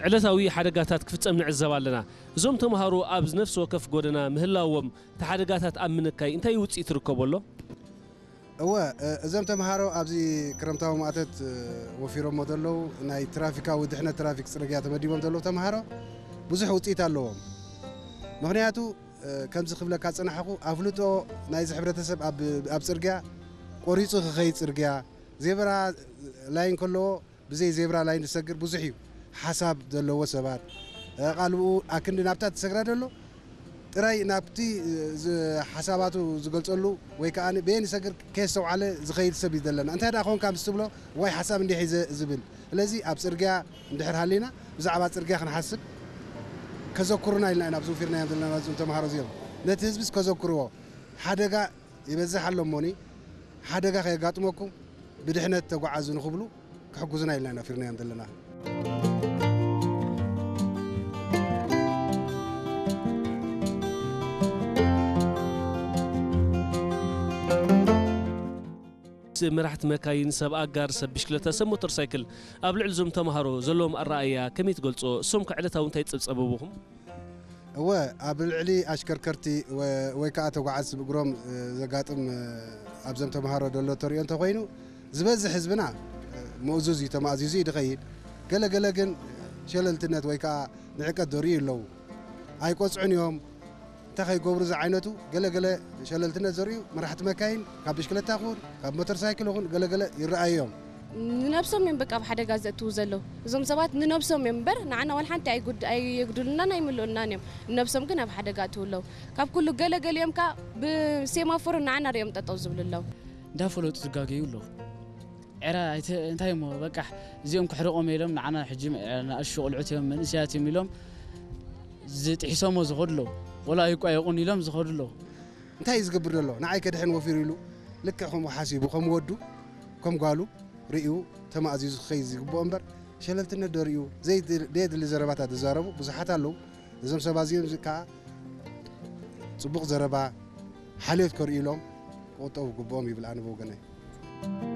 ዕለታዊ ሓደጋታት ክፍጸም ንዕዘብ ኣለና። እዞም ተምሃሮ ኣብ ነፍሲ ወከፍ ጎደና ምህላዎም፣ እቲ ሓደጋታት ኣብ ምንካይ እንታይ ውጽኢት ይርከቦ ኣሎ? እወ፣ እ፣ እዞም ተምሃሮ ኣብዚ ክረምታዊ ማእቶት፣ እ፣ ወፊሮሞ ዘለዉ ናይ ትራፊካዊ ድሕነት ትራፊክ ጽርግያ ተመዲቦም ዘለዉ ተምሃሮ ብዙሕ ውጽኢት ኣለዎም። ምኽንያቱ፣ እ፣ ከምዚ ክብለካ ዝጸናሕኩ፣ ኣፍልጦ ናይዚ ሕብረተሰብ ኣብ፣ ኣብ ጽርግያ ቆሪጹ ክኸይድ ጽርግያ፣ ዜብራ ላይን ከለዎ ብዘይ ዜብራ ላይን ዝሰግር ብዙሕ እዩ። ሓሳብ ዘለዎ ሰባት፣ እ፣ ቃልብኡ ኣክንዲ ናብታ ትሰግራ ደሎ ጥራይ ናብቲ፣ እ፣ ዝ-፣ ሓሳባቱ ዝገልጸሉ ወይ ከኣ በየን ይሰግር ከየስተውዓለ ዝኸይድ ሰብ እዩ ዘለና። እንታይ ደኣ ኮንካ ምስ ትብሎ፣ ዋይ ሓሳብ እንዲሕ እዩ ዘ-፣ ዝብል። ስለዚ ኣብ ጽርግያ እንድሕር ሃሊና ብዛዕባ ጽርግያ ክንሓስብ ከዘኩሩና ኢልና ኢና ኣብዚ ውፊርናዮም ዘለና እዞም ተምሃሮ እዚኦም። ነቲ ህዝብስ ከዘኩርዎ፣ ሓደጋ ይበዝሕ ኣሎ እሞኒ፣ ሓደጋ ከየጋጥመኩም ብድሕነት ተጓዓዙ ንኽብሉ ክሕግዙና ኢልና ኢና ፊርናዮም ዘለና። መራሕቲ መካይን፣ ሰብ ኣጋር፣ ሰብ ብሽክለታ፣ ሰብ ሞተር ሳይክል ኣብ ልዕሊ እዞም ተምሃሮ ዘለዎም ኣረኣእያ ከመይ ትገልጾ? እሶም ከ ዕለታዊ እንታይ ጸብጸበብኹም? እወ፣ ኣብ ልዕሊ ኣሽከርከርቲ ወ-፣ ወይ ከኣ ተጓዓዝቲ ብእግሮም፣ እ፣ ዘጋጥም፣ እ፣ ኣብዞም ተምሃሮ ዘሎ ተሪኦ እንተኾይኑ፣ ዝበዝሕ ህዝብና፣ እ፣ ምእዙዝ እዩ፣ ተማእዚዙ እዩ ዝኸይድ። ገለ ገለ ግን ሸለልትነት ወይ ከኣ ንዕቀት ዘርእዩ ኣለዉ። ኣይቆጽዑን እዮም፣ እንታይ ከይገብሩ ዝዓይነቱ ገለ ገለ ሸለልትነት ዘርእዩ መራሕቲ መካይን፣ ካብ ብሽክለታ ይኹን ካብ ሞተር ሳይክል ይኹን ገለ ገለ ይረኣዩ እዮም። ንነብሶም እዮም በቃ ኣብ ሓደጋ ዘእትዉ ዘለዉ። እዞም ሰባት ንነብሶም እዮም እምበር ንዓና ዋላ ሓንቲ ኣይጉድ-፣ ኣየጉድሉናን ኣይምልኡልናን እዮም። ንነብሶም ግን ኣብ ሓደጋ ኣእትዉ ኣለዉ። ካብ ኩሉ ገለ ገሊኦም ከኣ ብሴማፎር ንዓና ሪኦም ጠጠው ዝብሉ ኣለዉ። እንዳፈለጡ ዝጋገዩ ኣለዉ። ዕረ ኣይተ-፣ እንታይ እሞ በቃ እዚኦም ክሕርቆም ኢሎም ንዓና ሕጂ ንኣሽቱ ቆልዑት እዮም መንእሰያት እዮም ኢሎም ዝጥሒሶሞ ዝኸዱ ኣለዉ። ወላ ኣይቋየቑን ኢሎም ዝኸዱ ኣለዉ። እንታይ እዩ ዝገብር ዘሎ? ንዓይ ከድሕን ወፊሩ ኢሉ ልክዕ ከምኡ ሓሲቡ ከም ወዱ ከም ጓሉ ርእዩ ተማእዚዙ ክኸይድ ዝግብኦ እምበር ሸለልትነት ዶ ርእዩ ዘይድ-፣ ዘየድሊ ዘረባታት ዝዛረቡ ብዙሓት ኣለዉ። እዞም ሰባት እዚኦም ከኣ ጽቡቕ ዘረባ ሓልዮት ከርእዩ ኢሎም ክቑጠቡ ይግብኦም ይብል ኣነ ብወገነይ።